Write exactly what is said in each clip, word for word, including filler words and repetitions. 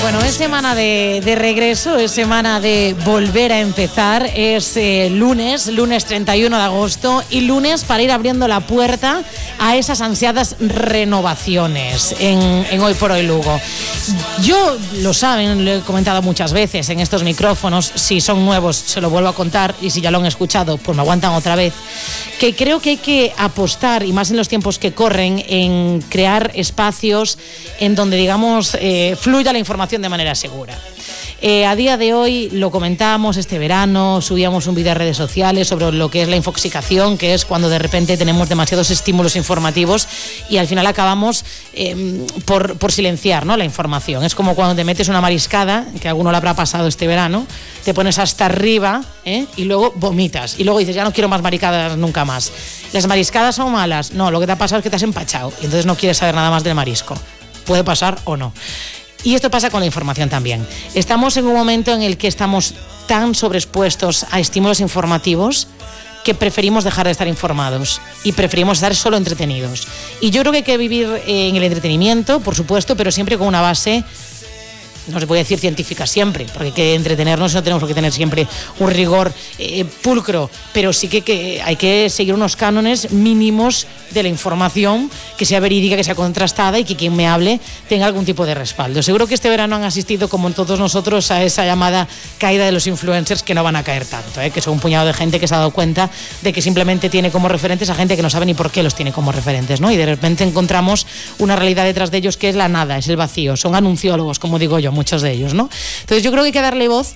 Bueno, es semana de, de regreso, es semana de volver a empezar, es eh, lunes, lunes treinta y uno de agosto y lunes para ir abriendo la puerta a esas ansiadas renovaciones en, en Hoy por Hoy Lugo. Yo, lo saben, lo he comentado muchas veces en estos micrófonos, si son nuevos se lo vuelvo a contar y si ya lo han escuchado pues me aguantan otra vez, que creo que hay que apostar, y más en los tiempos que corren, en crear espacios en donde, digamos, eh, fluya la información de manera segura. Eh, a día de hoy, lo comentábamos este verano, subíamos un vídeo a redes sociales sobre lo que es la infoxicación, que es cuando de repente tenemos demasiados estímulos informativos y al final acabamos eh, por, por silenciar, ¿no?, la información. Es como cuando te metes una mariscada, que a alguno le habrá pasado este verano, te pones hasta arriba ¿eh? y luego vomitas y luego dices, ya no quiero más mariscadas nunca más. ¿Las mariscadas son malas? No, lo que te ha pasado es que te has empachado y entonces no quieres saber nada más del marisco. Puede pasar o no. Y esto pasa con la información también. Estamos en un momento en el que estamos tan sobreexpuestos a estímulos informativos que preferimos dejar de estar informados y preferimos estar solo entretenidos. Y yo creo que hay que vivir en el entretenimiento, por supuesto, pero siempre con una base, no se puede decir científica siempre, porque hay que entretenernos, no tenemos que tener siempre un rigor eh, pulcro, pero sí que, que hay que seguir unos cánones mínimos de la información, que sea verídica, que sea contrastada y que quien me hable tenga algún tipo de respaldo. Seguro que este verano han asistido, como todos nosotros, a esa llamada caída de los influencers, que no van a caer tanto, ¿eh? que son un puñado de gente que se ha dado cuenta de que simplemente tiene como referentes a gente que no sabe ni por qué los tiene como referentes, ¿no? Y de repente encontramos una realidad detrás de ellos que es la nada, es el vacío, son anunciólogos, como digo yo, muchos de ellos, ¿no? Entonces yo creo que hay que darle voz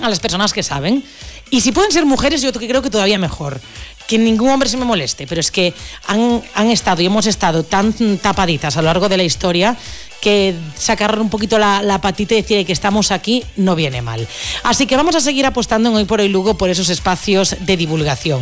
a las personas que saben, y si pueden ser mujeres, yo creo que todavía mejor, que ningún hombre se me moleste, pero es que han, han estado y hemos estado tan tapaditas a lo largo de la historia que sacar un poquito la, la patita y decir que estamos aquí no viene mal. Así que vamos a seguir apostando en Hoy por Hoy Lugo por esos espacios de divulgación.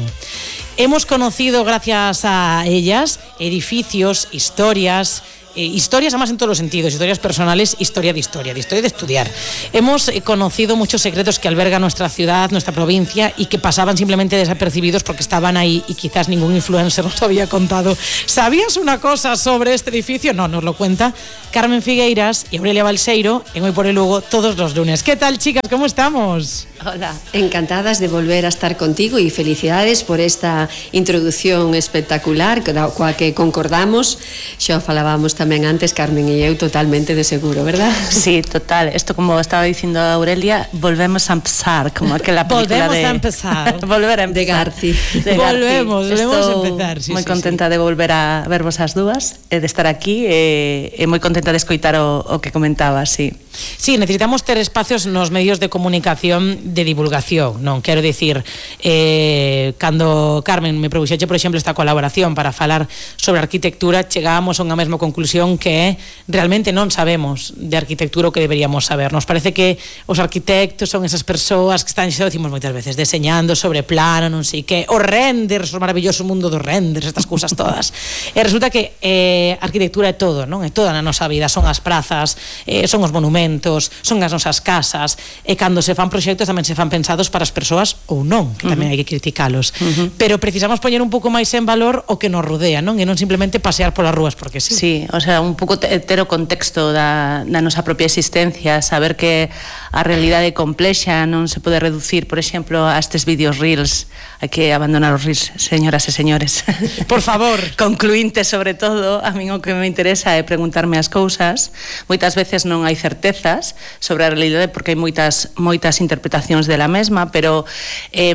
Hemos conocido, gracias a ellas, edificios, historias, Eh, historias además en todos los sentidos, historias personales, historia de historia, de historia de estudiar. Hemos eh, conocido muchos secretos que alberga nuestra ciudad, nuestra provincia, y que pasaban simplemente desapercibidos porque estaban ahí y quizás ningún influencer nos había contado. ¿Sabías una cosa sobre este edificio? No, nos lo cuenta Carmen Figueiras y Aurelia Balseiro en Hoy por Hoy Lugo todos los lunes. ¿Qué tal, chicas? ¿Cómo estamos? Hola, encantadas de volver a estar contigo y felicidades por esta introducción espectacular coa que concordamos. Xa falábamos tamén antes, Carmen e eu, totalmente de seguro, ¿verdad? Sí, total. Esto, como estaba dicindo Aurelia, volvemos a empezar, como aquela película volvemos de... a empezar. volver a empezar. De Garci. De volvemos, Garci. volvemos Estou a empezar. Sí, moi sí, contenta sí. de volver a vervos as dúas, e de estar aquí, e, e moi contenta de escoitar o, o que comentaba, sí. Sí, necesitamos ter espacios nos medios de comunicación de divulgación, non? Quero dicir, eh, cando Carmen me propuxeche, por exemplo, esta colaboración para falar sobre arquitectura, chegábamos a unha mesma conclusión, que é realmente non sabemos de arquitectura o que deberíamos saber. Nos parece que os arquitectos son esas persoas que están, xa decimos moitas veces, deseñando sobre plano, non sei que, os renders, o maravilloso mundo dos renders, estas cousas todas. E resulta que eh, arquitectura é todo, non? É toda na nosa vida, son as prazas, eh, son os monumentos, son as nosas casas, e cando se fan proxectos tamén se fan pensados para as persoas ou non, que tamén uh-huh. hai que criticalos. Uh-huh. Pero precisamos poñer un pouco máis en valor o que nos rodea, non? E non simplemente pasear polas rúas porque sí. Sí, o sea, un pouco ter o contexto da, da nosa propia existencia, saber que a realidade complexa non se pode reducir, por exemplo, a estes vídeos reels. Hai que abandonar os reels, señoras e señores. Por favor. Concluinte, sobre todo, a min o que me interesa é preguntarme as cousas. Moitas veces non hai certezas sobre a realidade porque hai moitas moitas interpretacións dela mesma, pero eh,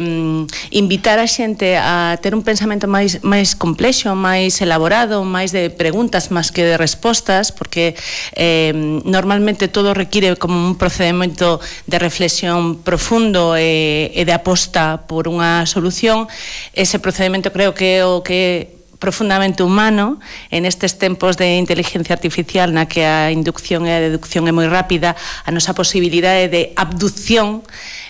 invitar a xente a ter un pensamento máis máis complexo, máis elaborado, máis de preguntas máis que de respostas, porque eh, normalmente todo require como un procedimento de reflexión profundo e, e de aposta por unha solución. Ese procedimento creo que é o que profundamente humano en estes tempos de inteligencia artificial na que a inducción e a deducción é moi rápida. A nosa posibilidade de abducción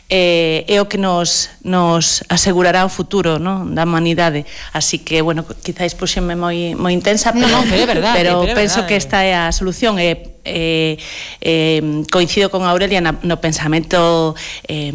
eh, é o que nos, nos asegurará o futuro, ¿no?, da humanidade. Así que, bueno, quizáis puxenme moi, moi intensa, pero, no, pero, é verdade, pero, pero penso verdade. que esta é a solución. E eh, eh, coincido con Aurelia na, no pensamento eh,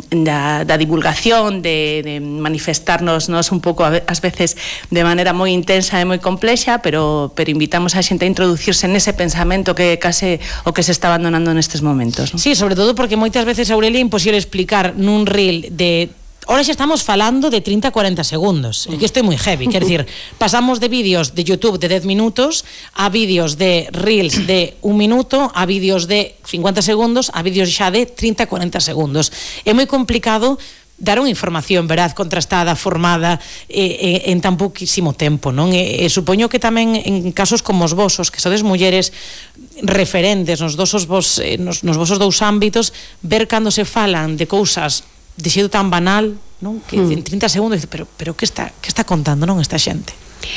da, da divulgación, de, de manifestarnos nos un pouco ás veces de maneira moi intensa e moi complexa, pero, pero invitamos a xente a introducirse nese pensamento que case o que se está abandonando nestes momentos, non? Sí, sobre todo porque moitas veces, Aurelia, é imposible explicar nun reel de... Ahora xa estamos falando de treinta a cuarenta segundos, é que isto é moi heavy, quer decir, pasamos de vídeos de YouTube de dez minutos a vídeos de reels de un minuto, a vídeos de cincuenta segundos, a vídeos xa de treinta a cuarenta segundos. É moi complicado dar unha información veraz, contrastada, formada eh, eh, en tan pouquísimo tempo, non? E, e supoño que tamén en casos como os vosos, que sodes mulleres referentes nos dosos vos, eh, nos, nos vosos dous ámbitos, ver cando se falan de cousas de xeito tan banal, non? Que mm. en trinta segundos, pero, pero que está, que está contando, non, esta xente?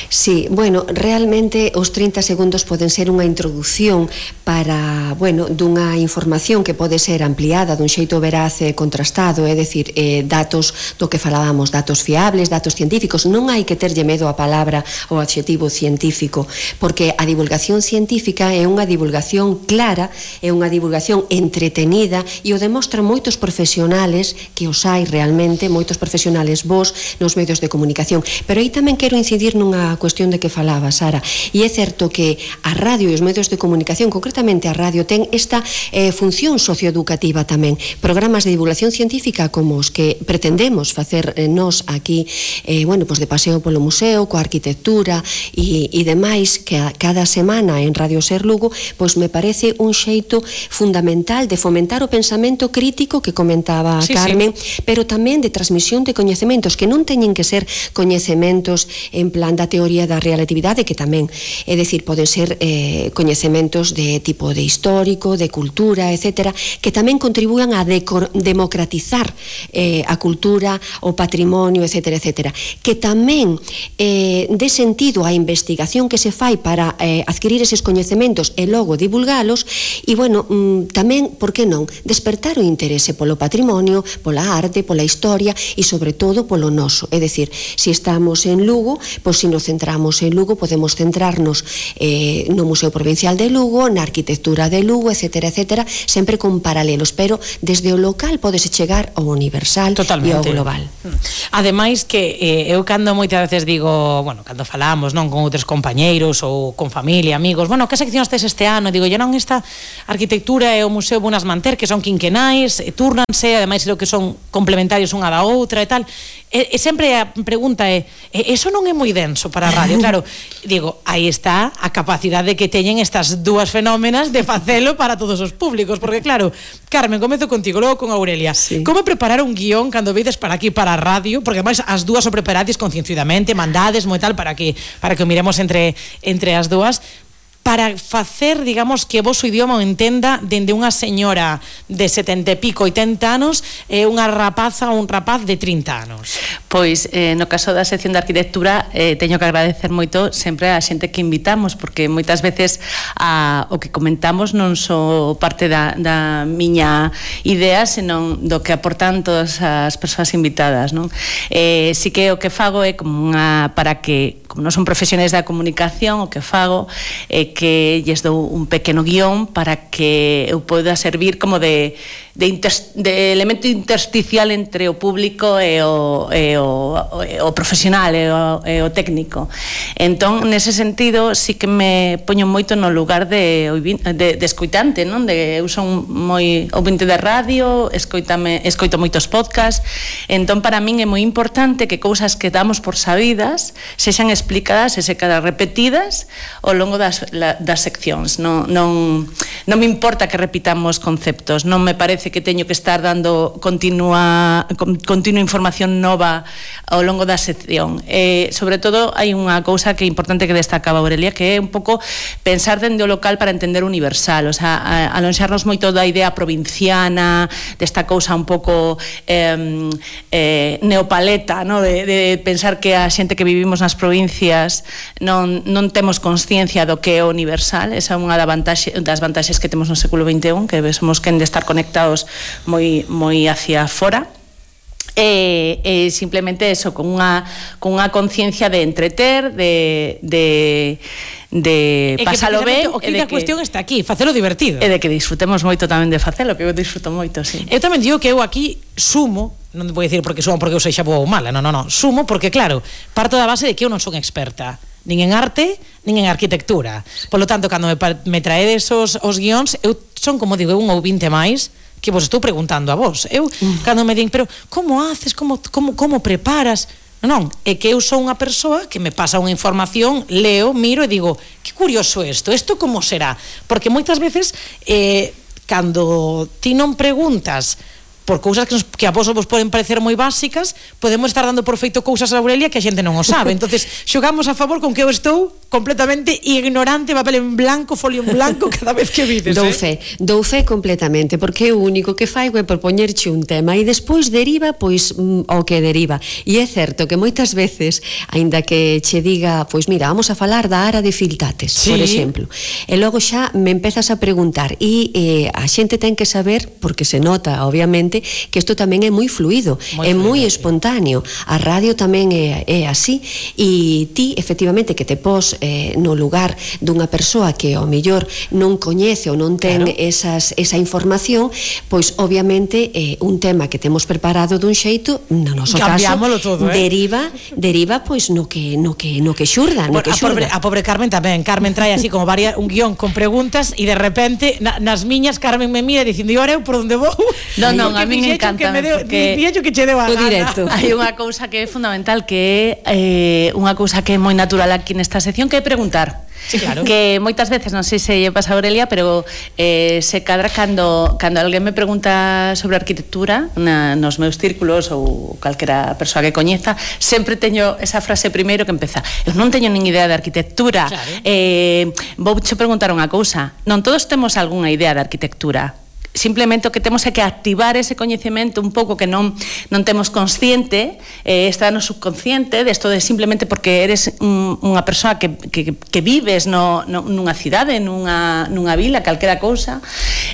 Sí, bueno, realmente os trinta segundos poden ser unha introducción para, bueno, dunha información que pode ser ampliada dun xeito veraz e contrastado, é dicir, eh, datos do que falábamos, datos fiables, datos científicos. Non hai que terlle medo a palabra ou adxetivo científico, porque a divulgación científica é unha divulgación clara, é unha divulgación entretenida e o demostran moitos profesionales, que os hai realmente, moitos profesionales vos nos medios de comunicación. Pero aí tamén quero incidir nun unha cuestión de que falaba, Sara, e é certo que a radio e os medios de comunicación, concretamente a radio, ten esta eh, función socioeducativa tamén. Programas de divulgación científica como os que pretendemos facer eh, nos aquí, eh, bueno, pues de paseo polo museo, coa arquitectura e, e demais, que a, cada semana en Radio Ser Lugo, pois me parece un xeito fundamental de fomentar o pensamento crítico que comentaba sí, Carmen, sí. pero tamén de transmisión de coñecementos que non teñen que ser coñecementos en plan da teoría da relatividade, que tamén, é dicir, poden ser eh, coñecementos de tipo de histórico, de cultura, etcétera, que tamén contribúan a democratizar eh, a cultura, o patrimonio, etcétera, etcétera, que tamén eh, dé sentido á investigación que se fai para eh, adquirir eses coñecementos e logo divulgalos, e, bueno, mm, tamén, por que non, despertar o interese polo patrimonio, pola arte, pola historia e, sobre todo, polo noso. É dicir, se estamos en Lugo, pois se nos centramos en Lugo, podemos centrarnos eh, no Museo Provincial de Lugo, na arquitectura de Lugo, etcétera, etcétera, sempre con paralelos, pero desde o local podese chegar ao universal e ao global. Ademais que eh, eu cando moitas veces digo, bueno, cando falamos, non, con outros compañeiros ou con familia, amigos, bueno, que seccións tes este ano? Digo, yo non, esta arquitectura e o Museo Bunas Manter, que son quinquenais, e turnanse, ademais creo que son complementarios unha da outra e tal, e, e sempre a pregunta é, eso non é moi denso para a radio? Claro, digo, aí está a capacidade que teñen estas dúas fenómenas de facelo para todos os públicos, porque claro, Carmen, comezo contigo, logo con Aurelia. Sí. Como preparar un guión cando vedes para aquí para a radio? Porque ademais as dúas o preparades concienzudamente, mandades moi tal para que para que o miremos entre entre as dúas, para facer, digamos, que vos o idioma o entenda dende unha señora de setenta e pico, oitenta anos e unha rapaza ou un rapaz de trinta anos. Pois, eh, no caso da sección de arquitectura, eh, teño que agradecer moito sempre a xente que invitamos, porque moitas veces a, o que comentamos non só parte da, da miña idea, senón do que aportan todas as persoas invitadas, non? Eh, si que o que fago é como unha, para que, como non son profesionais da comunicación, o que fago é que lles dou un pequeno guión para que eu poida servir como de, de, inter, de elemento intersticial entre o público e o, e o, o profesional e o, e o técnico. Entón, nese sentido, sí que me poño moito no lugar de, de, de escoitante, non? De, eu son moi ouvinte de radio, escoitame, escoito moitos podcasts, entón para min é moi importante que cousas que damos por sabidas sexan explicadas e se quedan repetidas ao longo das das seccións. Non, non, non me importa que repitamos conceptos, non me parece que teño que estar dando continua, continua información nova ao longo da sección. Eh, sobre todo, hai unha cousa que é importante que destacaba Aurelia, que é un pouco pensar dende o local para entender o universal, o sea, alonxarnos moito da idea provinciana, desta cousa un pouco eh, eh, neopaleta, no? de, de pensar que a xente que vivimos nas provincias non, non temos consciencia do que é o universal. Esa é unha das vantaxes que temos no século vinte e un, que somos quen de estar conectados moi, moi hacia fora. E, e simplemente eso, con unha, con unha conciencia de entreter, de, de, de pasalo ben. O que a cuestión está aquí, facelo divertido. E de que disfrutemos moito tamén de facelo, que eu disfruto moito, sí. Eu tamén digo que eu aquí sumo, non vou dicir porque sumo porque eu sexa boa ou mala, non, non, non, sumo porque claro, parto da base de que eu non son experta nin en arte, nin en arquitectura. Por lo tanto, cando me, me traedes os, os guións, eu son, como digo, eu un ouvinte máis que vos estou preguntando a vos. Eu, mm. cando me din, pero como haces, como, como, como preparas? Non, é que eu sou unha persoa que me pasa unha información, leo, miro e digo, que curioso isto, isto como será? Porque moitas veces, eh, cando ti non preguntas por cousas que, nos, que a vos vos poden parecer moi básicas, podemos estar dando por feito cousas a Aurelia que a xente non o sabe. Entonces, xogamos a favor con que eu estou completamente ignorante, papel en blanco, folio en blanco cada vez que vides. Dou eh? fe, dou fe completamente, porque o único que fai é propoñerche un tema e despois deriva pois o que deriva. E é certo que moitas veces, aínda que che diga, pois mira, vamos a falar da ara de Filtates, sí, por exemplo, e logo xa me empezas a preguntar e eh, a xente ten que saber, porque se nota, obviamente, que isto tamén é moi fluido, moi é moi espontáneo. A radio tamén é, é así, e ti, efectivamente, que te pos eh, no lugar dunha persoa que ao mellor non coñece ou non ten claro. esas, esa información, pois obviamente eh, un tema que temos preparado dun xeito, no noso caso, todo, eh? deriva deriva pois no que no que no que xurda, no que a, pobre, a pobre Carmen tamén. Carmen trae así como varias, un guión con preguntas e de repente na, nas miñas Carmen me mira dicindo, e ahora eu por onde vou? Non, non, a mí me encanta porque que che deu a o directo. Hai unha cousa que é fundamental, que é eh, unha cousa que é moi natural aquí nesta sección, que é preguntar. Sí, claro. Que moitas veces, non sei se lle pasa a Aurelia, pero eh, se cadra cando, cando alguén me pregunta sobre arquitectura na, nos meus círculos ou calquera persoa que coñeza, sempre teño esa frase primeiro que empeza: eu non teño nin idea de arquitectura, claro. eh, vou che preguntar unha cousa, non todos temos algunha idea de arquitectura, simplemente o que temos é que activar ese coñecemento un pouco que non non temos consciente, eh, está no subconsciente, desto de simplemente porque eres un, unha persoa que, que, que vives no, no, nunha cidade, nunha, nunha vila, calquera cousa.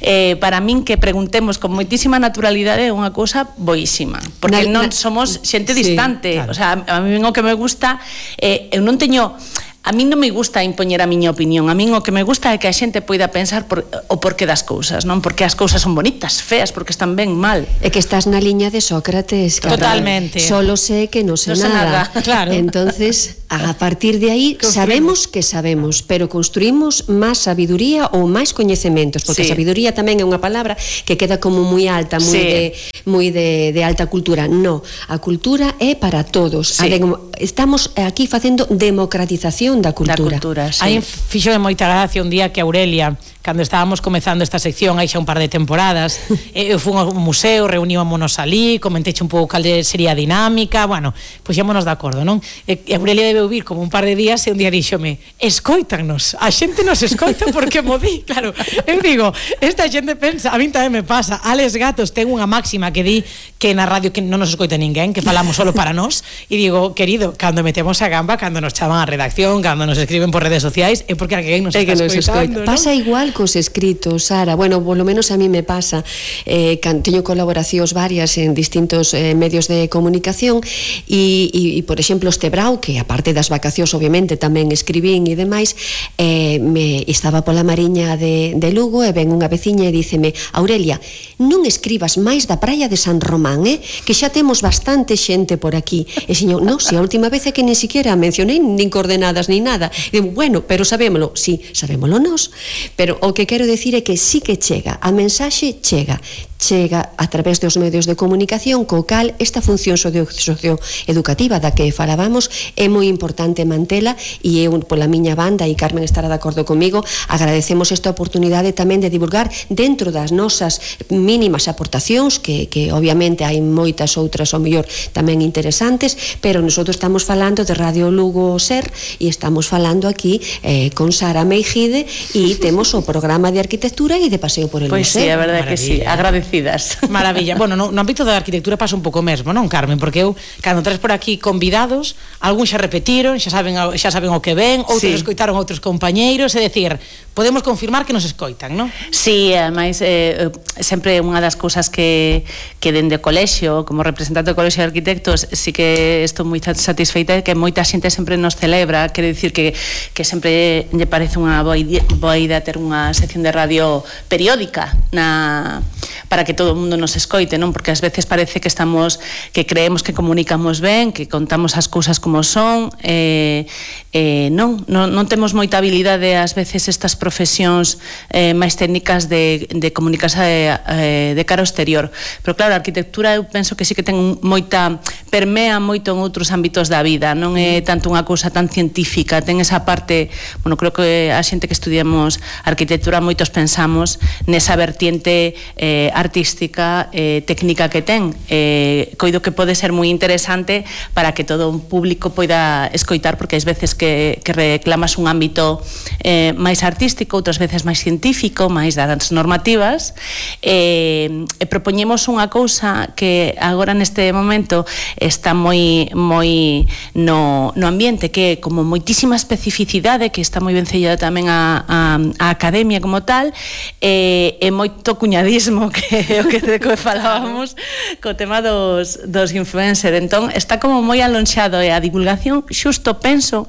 Eh, para min que preguntemos con moitísima naturalidade é unha cousa boísima, porque na, non na, somos xente sí, distante, claro. O sea, a mí o que me gusta, eh, eu non teño... A min non me gusta impoñer a miña opinión, a min o que me gusta é que a xente poida pensar por, o porqué das cousas, non? Porque as cousas son bonitas, feas, porque están ben, mal. É que estás na liña de Sócrates, cara. Totalmente. Solo sé que non sé, no sé nada. nada. Claro. Entonces, a partir de aí sabemos que sabemos, pero construímos máis sabiduría ou máis coñecementos, porque sí. A sabiduría tamén é unha palabra que queda como moi alta, moi sí. de moi de, de alta cultura. No, a cultura é para todos. Sí. A de, estamos aquí facendo democratización da cultura. Da cultura, sí. Aí fixo de moita gracia un día que Aurelia, cando estábamos comezando esta sección aí xa un par de temporadas, eu fui ao museo, reunímonos ali, comenteche un pouco cal sería a dinámica, bueno, puxémonos de acordo, non? E Aurelia debe vir como un par de días e un día díxome, escoítanos, a xente nos escoita porque mo di, claro, eu digo, esta xente pensa, a min tamén me pasa, Alex Gatos ten unha máxima que di que na radio que non nos escoita ninguén, que falamos solo para nós, e digo, querido, cando metemos a gamba, cando nos chaman a redacción, cando nos escriben por redes sociais, é porque alguén nos é está escoitando, ¿no? Pasa igual cos escritos, Sara, bueno, polo menos a mí me pasa, eh, teño colaboracións varias en distintos eh, medios de comunicación e, e, e, por exemplo, este Brau, que aparte das vacacións, obviamente, tamén escribín e demais, eh, me estaba pola Mariña de, de Lugo e ven unha veciña e díceme, Aurelia, non escribas máis da praia de San Román, eh, que xa temos bastante xente por aquí. E señor, non, se a última vez é que nin siquiera mencionei nin coordenadas nin nada. E digo, bueno, pero sabémolo, sí, sabémolo nós, pero o que quero decir é que sí que chega, a mensaxe chega, chega a través dos medios de comunicación, co cal esta función socioeducativa da que falábamos é moi importante mantela, e eu pola miña banda, e Carmen estará de acordo comigo, agradecemos esta oportunidade tamén de divulgar dentro das nosas mínimas aportacións, que, que obviamente hai moitas outras ao mellor tamén interesantes, pero nosotros estamos falando de Radio Lugo Ser e estamos falando aquí eh, con Sara Meijide e temos o programa de arquitectura e de paseo por el Pois museo. sí, a verdade que sí, agradecemos agradecidas. Maravilla. Bueno, no, no ámbito da arquitectura pasa un pouco mesmo, non, Carmen? Porque eu, cando traes por aquí convidados, algúns xa repetiron, xa saben, xa saben o que ven, outros sí. escoitaron outros compañeiros, é dicir, podemos confirmar que nos escoitan, non? Sí, ademais, eh, sempre unha das cousas que, que dende o colexio, como representante do colexio de arquitectos, sí que estou moi satisfeita de que moita xente sempre nos celebra, quere dicir que, que sempre lle parece unha boa idea, boa idea ter unha sección de radio periódica na, para que todo o mundo nos escoite, non? Porque ás veces parece que estamos, que creemos que comunicamos ben, que contamos as cousas como son, eh, eh, non, non, non temos moita habilidade ás veces estas profesións eh, máis técnicas de, de comunicarse eh, de cara ao exterior, pero claro, a arquitectura eu penso que sí que ten moita, permea moito en outros ámbitos da vida, non é tanto unha cousa tan científica, ten esa parte, bueno, creo que a xente que estudiamos arquitectura moitos pensamos nesa vertiente eh, artística, eh, técnica que ten, eh, coido que pode ser moi interesante para que todo un público poida escoitar, porque ás veces que, que reclamas un ámbito eh, máis artístico, outras veces máis científico, máis das normativas, eh, e propoñemos unha cousa que agora neste momento está moi moi no, no ambiente, que é como moitísima especificidade, que está moi ben sellada tamén a, a, a academia como tal, e, e moito cuñadismo, que é o que, que falábamos co tema dos, dos influencers. Entón está como moi alonxado, e a divulgación xusto penso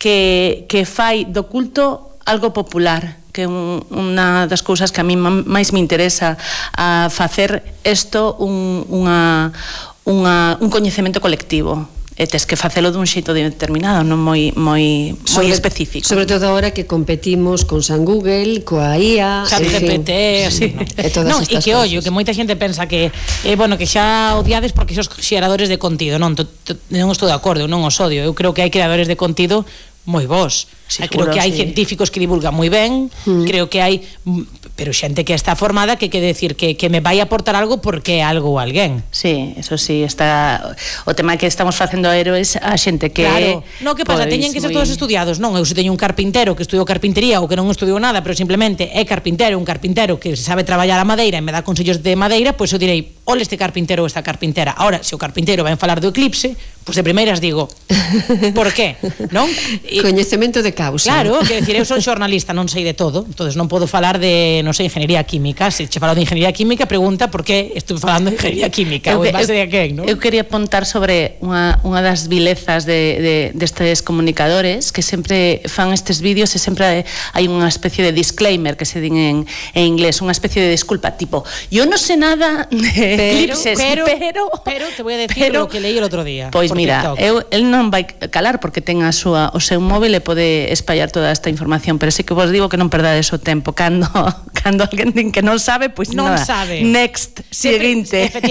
que, que fai do culto algo popular, que é un, unha das cousas que a mí máis me interesa, a facer isto un, unha, unha, un coñecemento colectivo. E tes que facelo dun xeito determinado, non moi moi moi específico. Sobre todo agora que competimos con San Google, coa I A, Chat G P T, sí. E todas non, estas e que ollo, que moita xente pensa que eh, bueno, que xa odiades porque sos xeradores de contido, non, to, to, non estou de acordo, non os odio. Eu creo que hai creadores de contido moi vos. Sí, creo que hai sí. científicos que divulgan moi ben, mm. creo que hai, pero xente que está formada que quere decir que, que me vai aportar algo porque é algo ou alguén. Sí, eso sí, está o tema que estamos facendo héroes a xente que claro. No, que pasa, pois, teñen que ser muy... todos estudiados, non? Eu se teño un carpintero que estudiou carpintería ou que non estudiou nada, pero simplemente é carpintero, un carpintero que sabe traballar a madeira e me dá consellos de madeira, pois eu direi, ole este carpintero ou esta carpintera. Ahora, se o carpintero vai falar do eclipse, pois de primeiras digo, por qué? Non? E, coñecemento de causa. Claro, que decir, eu son xornalista, non sei de todo, entonces non podo falar de, non sei, ingeniería química. Se che falo de ingeniería química, pregunta por que estou falando de ingeniería química, eu, ou en base eu, de a quen, non? Eu quería apuntar sobre unha, unha das vilezas de, de, destes comunicadores que sempre fan estes vídeos e sempre hai unha especie de disclaimer que se din en, en inglés, unha especie de disculpa, tipo, yo no sé nada de pero, eclipses, pero, pero, pero te voy a decir pero, lo que leí el otro día. Pois mira, eu, el non vai calar porque ten a súa, o seu móvil e pode espallar toda esta información, pero sí que vos digo que non perdades o tempo cando cando alguén din que non sabe, pois non nada. sabe. Next, seguinte. Efectivamente.